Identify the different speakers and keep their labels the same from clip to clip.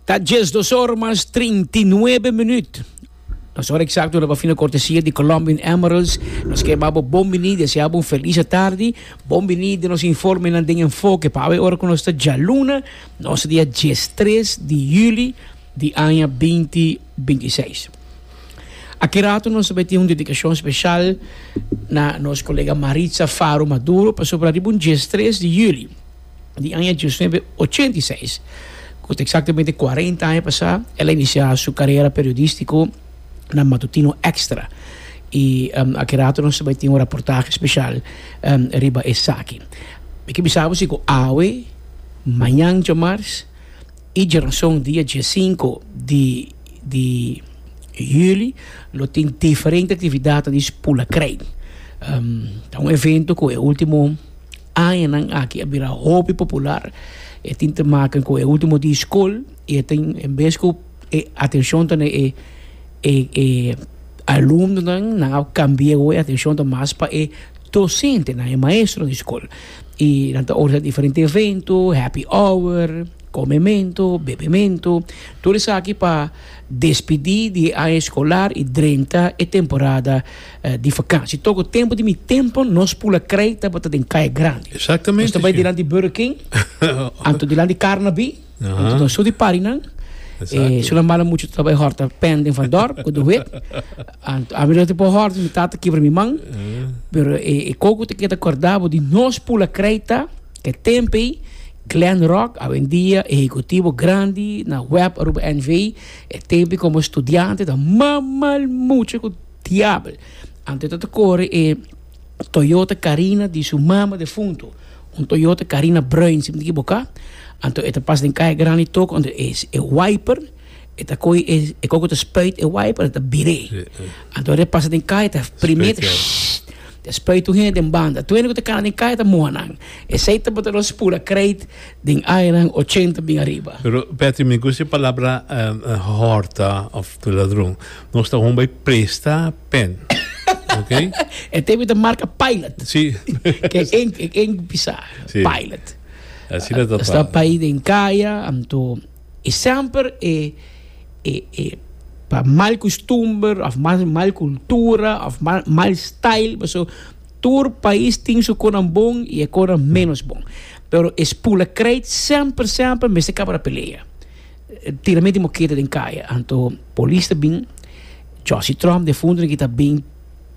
Speaker 1: Ta 12 or mas 39 minuut. Nos hora exacto na fina cortesia di Colombian Emeralds. Nos ke babo bon bini, desea bo un feliz tardi. Bon bini di nos informenan den enfoke pa awe ora ku nos ta djaluna, nos ta dia 13 di juli di aña 2026. Aki rato nos ta bai tin un dedikashon speshal na nos kolega Maritza Faro Maduro pasobra riba un 13 di juli di aña 1986, ku ta eksaktamente 40 aña pasá, el a inisiá su karera periodístiko na Matutino Extra. I aki rato nos ta bai tin un raportahe speshal riba esaki. Mi ke bisa bo si ku awe, mañan djamars i djarason dia diesinko di di juli lo tin diferente aktividatnan di Spula Krei. Ta un evento ku e último Añanan aki a bira hopi popular. E tin te maken ku e ultimo di skol i e tin en bes ku e atenshon ta na e e e alumnonan nan a kambia awor e atenshon ta mas pa e dosentenan e maestronan di skol. I nan ta organisa diferente evento, happy hour, komemento, bebemento, tur esaki pa despidi di e aña eskolar i drenta e temporada di vakantie. Toko tempo di mi tempo nos pula krei tabata den Kaya Grandi.
Speaker 2: Exactamente.
Speaker 1: Nos ta bai dilanti Burger King, anto dilanti Carnaby, anto nos su di parinan.
Speaker 2: Exacto.
Speaker 1: Su nan bala mucho ta bai horta pen den Van Dorp ku de wit. Anto ami no te por horta, mi tata kibra mi man. Pero e koko te keda korda bo di nos pula krei ta ke tempo ei Glenn Rock, awendia ehecutivo grandi na Web Aruba NV, e tempo ei komo studiante ta mamal mucho ku Diabel. Anto e ta ta kore e Toyota Carina di su mama defunto. Un Toyota Carina bruin, si mi ta ekiboká. Anto e ta pasa den kaya grandi toko, anto e e wiper, e ta kohe e e koko ta spuit e wiper, e ta bir'é. Anto ora e pasa den kaya ta prim'é ta ta spuit tur hende den banda. Tur hende ku ta kana den kaya ta muha nan. Esei tabata nos pura kreit den añanan ochenta bin ariba.
Speaker 2: Pero Patrick, mi gusta e palabra hòrta òf ladron. Nos ta hon bai presta pen. Ok?
Speaker 1: E tempo ta marca Pilot.
Speaker 2: Sí.
Speaker 1: Ke en en pisa.
Speaker 2: Sí.
Speaker 1: Pilot.
Speaker 2: Asina ta
Speaker 1: Sta pa den kaya, anto e semper e e e pa mal costumber of mal mal cultura of mal mal style paso tur pais tin su konan bon y e konan menos bon. Pero e spula krijt semper semper mester kaba na pelea. Tiramente mokete den kaya anto polis ta bin Jossy Tromp defunto ki ta bin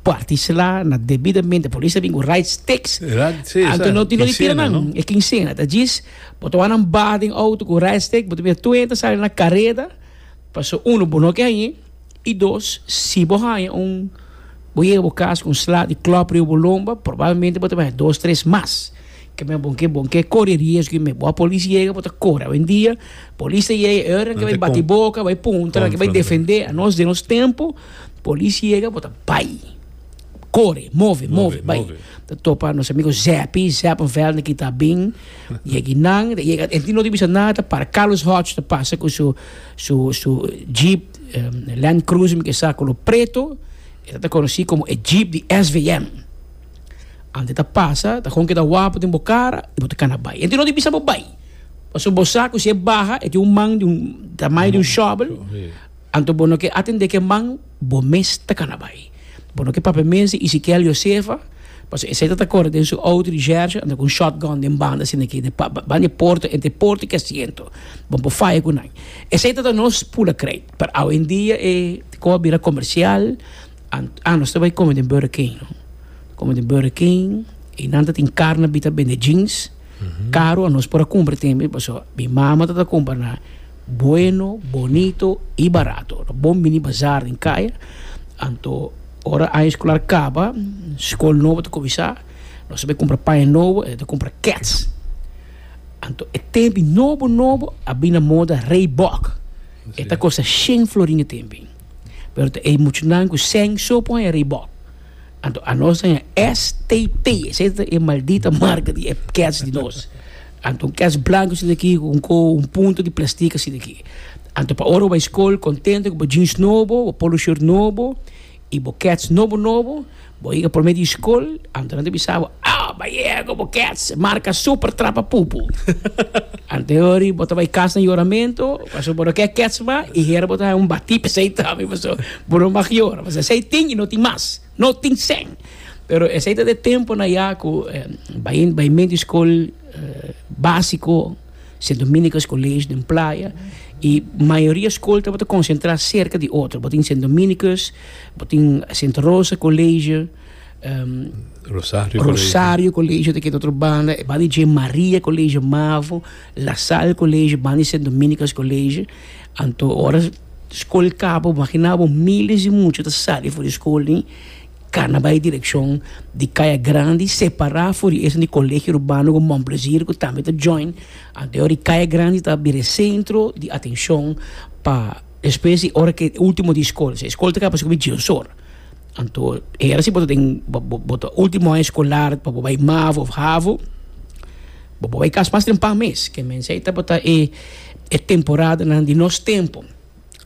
Speaker 1: parti sla na debidamente polis ta bin ku right sticks anto no tin no di tira nan e kinsena ta djis bo ta wak nan baha den auto ku right stick bo ta mira tur hende ta sali na kareda paso uno bo no ke hañe I dos, si bo haña un, bo yega bo kas ku un sla di klòp riba bo lomba, probablemente bo ta haña dos, tres mas. Ke men bon ke bon ke kore riesgo i men bo a polis yega bo ta kore. Awendia polis ta yega e ora nan ke bai bati boka, bai puntra, nan ke bai defendé. Anos den nos tempu polis yega bo ta bai. Kore, move, move, bai. Ta topa nos amigo Zeppy, Zeppenveld nan kita bin yega nan, ta yega, e no ta bisa nada, ta para Carlos Hodge ta pasa ku su Su su jeep Land Cruiser mi ke sa color preto e ta conoci como e jeep di SVM. Ante ta pasa ta con keda wapo den bo cara y bo ta cana bay. Ente no di bisa bo bay. Pasobra bo sa cu si e baha e tin un man di un tamaño di un shovel anto bo no ke atende ke man bo mes ta cana bay. Bo no ke papia mes di Ezekiel Josefa, pasobra esei ta ta kore den su outo di Jersey anda ku un shotgun den banda asina aki, den banda di e porta, entre e porta i ki asiento. Bo por faya ku nan. Esei ta ta nos pula kreit. Pero awendia e kos a bira komersial. Ah, nos ta bai kome den Burger King, no? Kome den Burger King, i nan ta tin karne bi ta bende jeans. Karo anos por a kumpra tembe, pasobra mi mama ta ta kumpra na Bueno, bonito y barato. No bon bini bazaar den caya. Anto ora aña escolar caba, scol nobo ta cuminsa, nos ta bay cumpra paña nobo, e ta cumpra kets. Anto e tempi nobo nobo a bin na moda Reebok. E ta costa shen florin e tempi. Pero ta e muchanan cu sèn so por haña Reebok. Anto anos ta haña STP, esei ta e maldita marca di e kets di nos. Anto un kets blanco asina aki ku un ko un punto di plastic asina aki. Anto pa ora bo bai skol kontento ku bo jeans nobo, bo polo shirt nobo i bo kets nobo nobo, Bo yega prome di skol, anto nan ta bisa bo, ah, bo a yega ku bo kèts marka super trapa pupu. Anto e ora bo ta bai kas na yoramento, pasobra bo no ke kèts mas, i hera bo ta haña un batí p'esei tambe, pasobra bo no mag yora. Pasobra esei tin i no tin mas, no tin sèn. Pero esei ta e temponan ya ku bai bai menti skol básiko. Sint Dominicus College den Playa y mayoria school tabata concentra cerca di otro. Bo tin Sint Dominicus, bo tin Sint Rosa College,
Speaker 2: Rosario
Speaker 1: Rosario College ta keda otro banda, e banda di dje Maria College Mavo, La Salle College, banda di Sint Dominicus College. Anto ora school caba, bo imagina bo miles di mucha ta sali for di school ni. Cana bai direccion di Caya Grandi, separa for di esun di Colegio Urbano cu Mon Plaisir cu tambe ta join. Anto e ora di Caya Grandi ta bira e centro di atencion pa despues di ora cu e ultimo di scol. Si e scol ta caba pasobra cu djies or. Anto e era si bo ta den bo ta ultimo aña escolar pa bo bai mavo of havo, bo por bai cas mas trempan mes. Ke mensei tabata e temporadanan di nos tempo.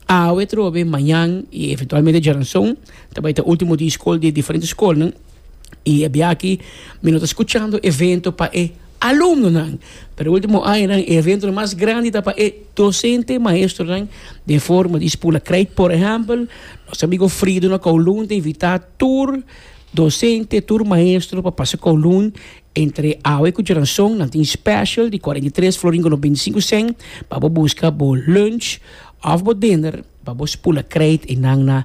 Speaker 1: Awe trobe, mañan y eventualmente djaranson ta bay ta ultimo di skol di e diferente skolnan y e bia aki mi no ta skuchando evento pa e alumnonan pero e ultimo añanan e eventonan mas grandi ta pa e docente maestronan den forma di spula krijt. Por ehempel nos amigo Frido na Kowloon ta invita tur docente tur maestro pa pasa Kowloon entre awe ku djaranson. Nan tin special di 43 florin ku 95 cent pa bo buska bo lunch òf bo dinner pa bo spula krijt einan na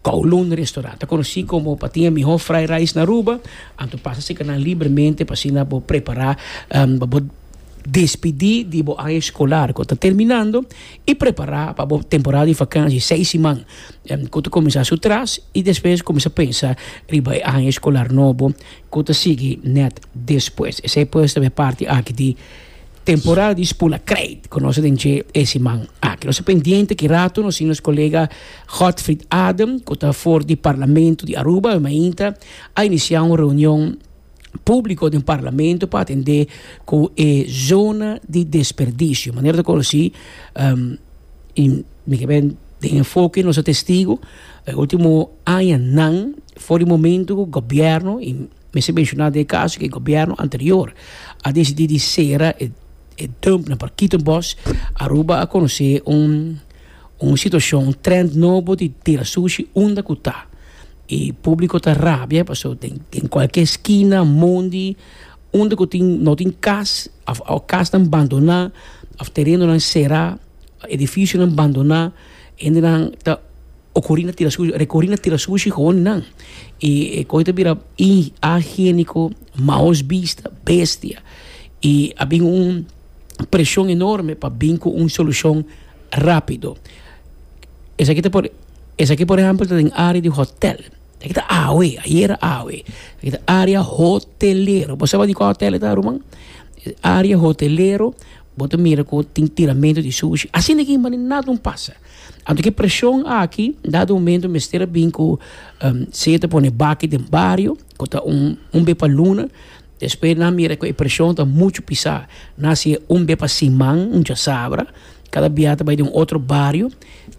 Speaker 1: Kowloon Restaurant. Ta konosí komo pa tin e mihó fried rice na Aruba, anto pasa serka nan libremente pa asina bo prepará pa bo despidí di bo aña eskolar ku ta terminando i prepará pa bo temporada di vakansi seis siman ku ta kuminsá su tras i despues kuminsá pensa riba e aña eskolar nobo ku ta sigui nèt despues. Esei pues ta e parti aki di temporada di spula krijt ku nos a den dje e siman aki. Nos ta pendiente ki rato nos tin nos kolega Godfried Adem ku ta for di Parlamento di Aruba e mainta a inisiá un reunion públiko den Parlamento pa atendé ku e zona di desperdisio. Manera ta konosí i mi ke ben den enfoke nos a testigo e último añanan for di momento ku gobièrnu i mester menshoná den e kaso ku e gobièrnu anterior a disidí di sera e dump na Parkietenbos, Aruba a konosé un un situashon, un trend nobo di tira sushi unda ku ta. I públiko ta rabia pasobra den den kualke skina, mondi, unda ku tin no tin kas òf kasnan bandoná òf terenonan será, edifisionan bandoná, hendenan ta. Ocurí na tira sushi, recurí na tira sushi gewoon nan. Y e coy ta bira inhigiénico, maos bista, bestia. Y a bin un presion enorme pa bin cu un solucion rapido. Esaki ta por, esaki por ehempel ta den area di hotel. Esaki ta awe, ayera awe. Esaki ta area hotelero. Bo sa di cua hotel e ta, ruman? Area hotelero, bo ta mira cu tin tiramento di sushi. Asina aki manera nada no pasa. Anto ki preshon aki, dado momento mester a bin ku sea ta pone baki den bario, ku ta un un be pa luna, despues nan mira ku e preshon ta muchu pisá, nan hasié un be pa siman, un djasabra, kada bia ta bai den un otro bario,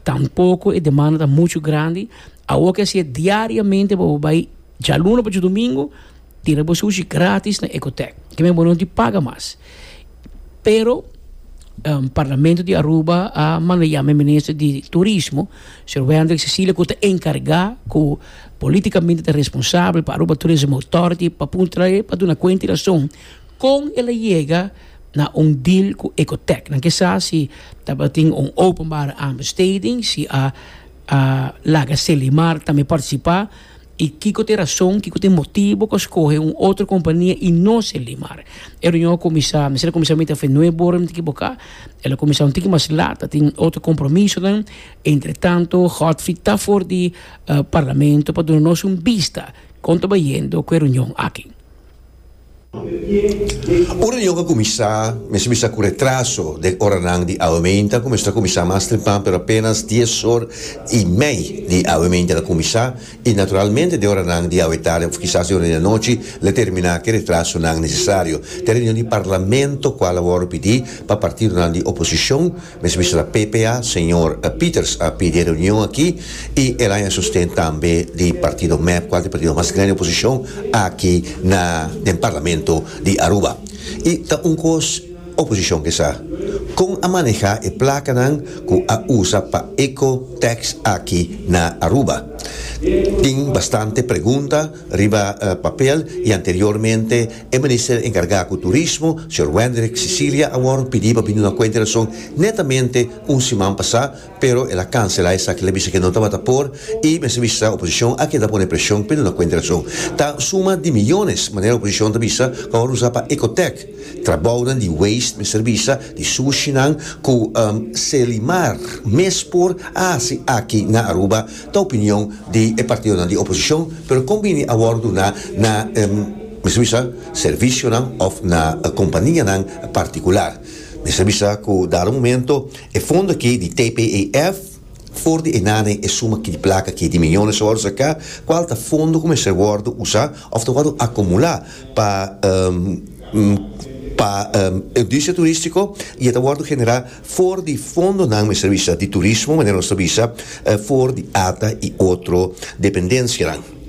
Speaker 1: tampoko e demanda ta muchu grandi, awor ke hasié diariamente pa bo bai djaluna pa djadumingu, tira bo sushi gratis na Ecotech, ke men bo no tin paga mas. Pero Parlamento di Aruba a manda yama e minister di Turismo, señor Wendrick Cecilia, ku ta enkargá ku politikamente ta responsabel pa Aruba Tourism Authority pa puntra e pa duna kuenta i rason kon el a yega na un deal ku Ecotech. Nan ke sa si tabatin un openbare aanbesteding, si a laga Selimar tambe partisipá. I kiko ta e rason, kiko ta e motibo ku a skohe un otro kompania i no Selimar? E reunion a kuminsá, mester a kuminsá mita afe nuebe ora, mi ta ekiboká, el a kuminsá un tiki mas lat, a tin otro kompromisonan. Entretanto, Godfried ta for di Parlamento pa duna nos un bista kon ta bayendo ku e reunion aki.
Speaker 3: Un reunion a kuminsá, mester bisa ku retraso den oranan di awe meinta, ku mester a kuminsá mas trempan pero apenas dies or i mei di awe meinta el a kuminsá i naturalmente den oranan di awe tardi òf kisas den ora di anochi lo e terminá ku e retrasonan nesesario. Ta e reunion di parlamento kual a wòrdu pidí pa partidonan di oposishon. Mester bisa ta PPA, señor Pieters a pidi e reunion aki y el haña sosten tambe di partido mep cual ta e partido mas grandi oposicion aki na den parlamento di Aruba. Y ta un cos oposicion ke sa, con a maneha e placanan cu a usa pa eco tax aki na Aruba. Tin bastante pregunta riba papel y anteriormente E minister enkargá ku turismo, señor Wendrick Cicilia a wòrdu pidí pa bini na kuenta e rason netamente un siman pasá, pero el a kanselá esaki, el a bisa ke no tabata por i mester bisa oposishon a keda pone preshon p'e duna kuenta e rason. Ta suma di miyones, manera oposishon ta bisa, ku a wòrdu usá pa Ecotec, trabounan di waste mester bisa, di sushinan ku Selimar mes por a hasi aki na Aruba, Ta opinion di e partidonan di oposicion, pero con bini a wordo duna na, mester bisa, servicionan of na companianan particular. Mester bisa cu dado momento e fondo aki di TPEF, for di e nane e suma aki di placa aki di miyones a wordo saca, cual ta fondo cu mester wordo usa of ta wordo acumula pa pa industria turistico y e ta wordo genera For di fondonan mester bisa di turismo, manera nos ta bisa, for di ata i otro dependensianan.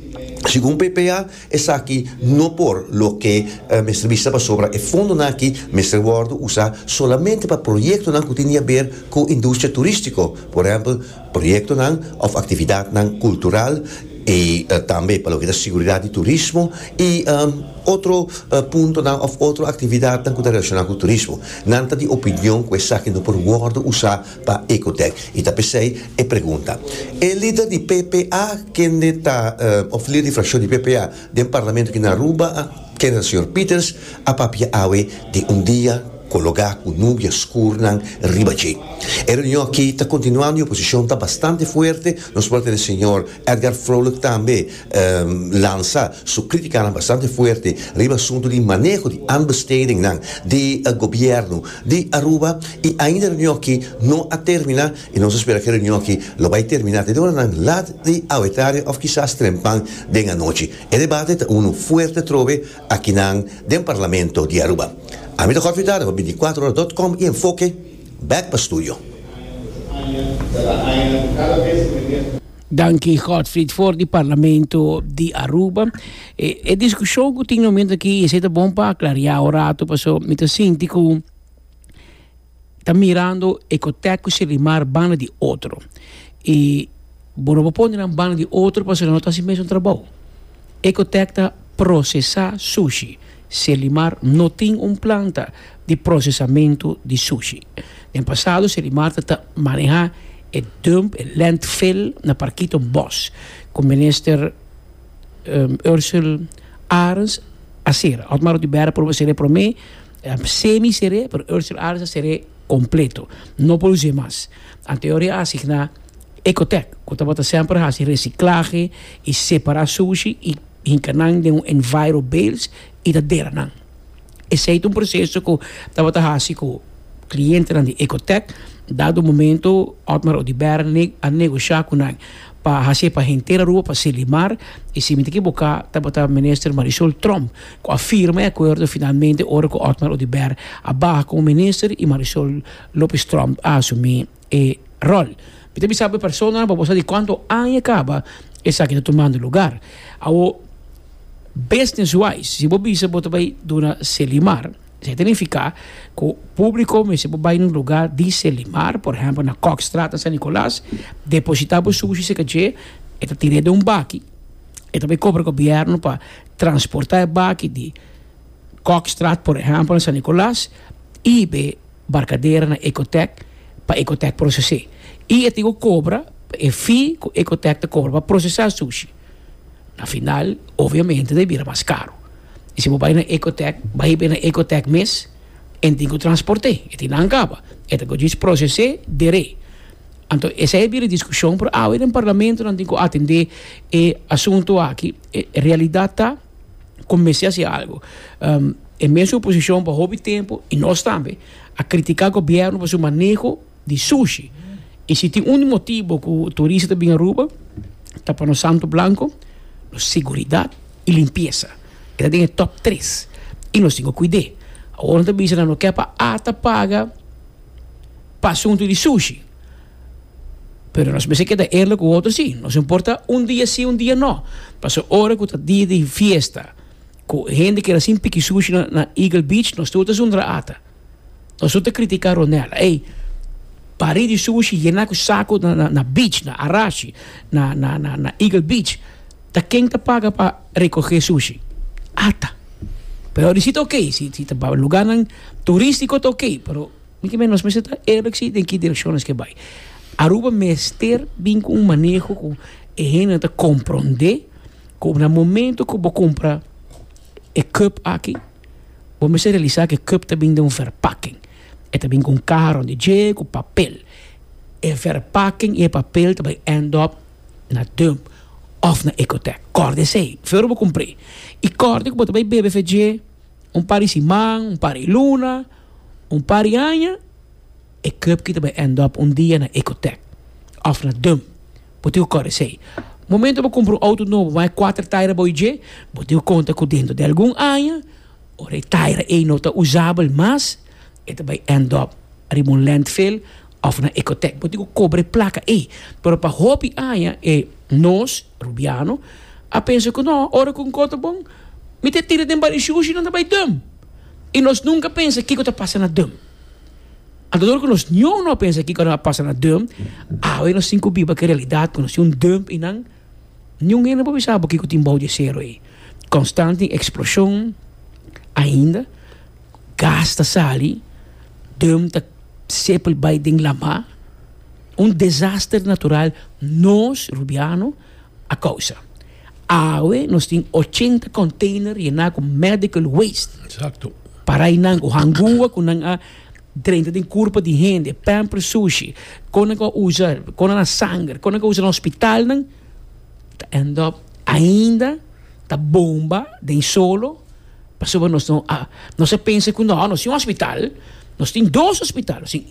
Speaker 3: Segun PPA, esaki no por loke mester bisa pasobra e fondonan aki mester wòrdu usá solamente pa proyektonan ku tin di haber ku industria turístiko, por ehèmpel proyektonan òf aktividatnan kultural i tambe pa loke ta siguridat di turismo i otro puntonan òf otro aktividatnan ku ta relashoná ku turismo. Nan ta di opinion ku esaki no por wòrdu usá pa Ecotec i ta p'esei e pregunta. E lider di PPA kende ta òf lider di frakshon di PPA den parlamento aki na Aruba, kende ta señor Pieters, a papia awe di un dia kologá ku nubia skurnan riba dje. E reunion aki ta kontinuando i oposishon ta bastante fuerte. Nos por a tene señor Edgar Vrolijk tambe lansa su kritikanan bastante fuerte riba asuntu di maneho di aanbestedingnan di gobièrnu di Aruba i ainda e reunion aki no a terminá i nos a spera ku e reunion aki lo bai terminá te den oranan lat di awetaria òf kisas trempan den anochi. E debate ta unu fuerte atrobe akinan den Parlamento di Aruba. Ami ta Godfrey Dada pa binticuatro ora dot com i Enfoke bek pa studio.
Speaker 1: Danki Godfried for di Parlamento di Aruba. E, e discusion cu tin momento aki, esey ta bon pa aclaria un rato, paso mi ta sinti cu ta mirando Ecotec cu Selimar banda di otro. Y bo no por pone nan banda di otro pasobra nan no ta haci mesun trabou. Ecotec ta procesa sushi. Selimar no tin un planta di procesamento di sushi. Den pasado Selimar ta ta maneha e dump, e landfill na Parkito Bos, cu Minister Ursell Arends a cera. Otmar Oduber a proba cera e prome, semi cere, pero Ursell Arends a cere completo. No por use mas. Anteori a asigna Ecotec, cu tabata semper haci reciclahe y separa sushi y hinca nan den un enviro bales y ta dera nan. Esey ta un proceso cu tabata haci cu clientenan di Ecotec. Dado momento Otmar Oduber a negosha cu nan pa haci pa henter Aruba pa Selimar y si mi ta ekiboca tabata Minister Marisol Tromp cu a firma e acuerdo finalmente ora cu Otmar Oduber a baha como Minister y Marisol Lopez Tromp a asumi e rol. Mi ta bisa bo e personanan pa bo sa di cuanto aña caba esaki ta tumando lugar. Awo business wise si bo bisa bo ta bay duna Selimar esaki ta nifica cu publico mester por bay na un lugar di Selimar por ehempel na Kokstraat na San Nicolas deposita bo sushi cerca dje e ta tira den un baki e ta bay cobra gobierno pa transporta e baki di Kokstraat por ehempel na San Nicolas y be Barcadera na Ecotec pa Ecotec proces'é. Y e tin cu cobra e fee cu Ecotec ta cobra pa procesa sushi. Na final, obviamente ta bira mas caro. Y si bo bay na Ecotec, bay hib'é na Ecotec mes, en tin cu transport'é. E tin nan caba. E ta cu djis proces'é, der'é. Anto esey a bira discusion, pero awe den Parlamento nan tin cu atende e asunto aki. E realidad ta. Ku mester hasi algu. E mesun oposishon pa hopi tempu, i nos tambe, a kritiká gobièrnu pa su maneho di sushi. I si tin un motibu ku turista ta bin Aruba, ta pa nos santo blanko, nos seguridat i limpiesa. E ta den e tòp tres. I nos tin ku kuid'é. Awor nan ta bisa nan no ke pa ata paga pa asuntu di sushi. Pero nos mester keda eerlijk ku otro sí. Nos no importa un dia sí, un dia no. Pasobra ora ku ta dia di fiesta, ku hende keda sin piki sushi na na Eagle Beach, nos tur ta zundra ata. Nos tur ta kritiká Ronella. Ey, bari di sushi yená ku saku na na na beach, na Arashi, na na na na Eagle Beach. Ta ken ta paga pa rekogé sushi? Ata. Pero di si ta okey, si si ta pa lugarnan turístiko ta okey, pero. Mi ke men nos mester ta eerlijk si den ki direkshon nos ke bai. Aruba mester bin ku un maneho ku e hendenan ta komprondé ku na momento ku bo kumpra e cup aki, bo mester realisá ku e cup ta bin den un verpakking. E ta bin ku un kaha rònt di dje, ku papel. E verpakking i e papel ta bai end up na dump òf na Ecotec. Kòrda esei, for bo kumpr'é. I kòrda ku bo ta bai bebe fe dje un par di siman, un par di luna. Un par di aña e cup ki ta bai end up un dia na Ecotec of na dump. Bo tin ku kòrda esei. Momento bo kumpra un outo nobo bo haña kuater taira bou dje, bo tin ku konta ku dentro di algun aña ora e taira ei no ta usabel mas, e ta bai end up riba un landfill of na Ecotec. Bo tin ku kobra e plaka ei. Pero pa hopi aña e nos, Rubiano, a pensa ku no, ora ku un kos ta bon, mi ta tira den bari shushi nan ta bai dump. I nos nunka pensa kiko ta pasa na dum. Anto dor ku nos niun no a pensa kiko a pasa na dum, awe nos tin ku biba ku e realidat ku nos tin un dump i nan niun hende por bisa bo kiko tin bou di e sero ei. Konstant tin eksploshon ainda, gas ta sali, dum ta sepel bai den lama. Un desaster natural nos, Rubiano, a kousa. Awe nos tin 80 container yená ku medical waste.
Speaker 2: Exacto.
Speaker 1: Parainan ku hangua ku nan a drenta den kurpa di hende, pamper sushi, kon nan a usa, kon nan a sanger, kon nan a usa na hospitalnan, ta end up ainda ta bomba den solo pasobra nos no a, nos a pensa ku no, nos tin un hospital, nos tin dos hospital, nos tin.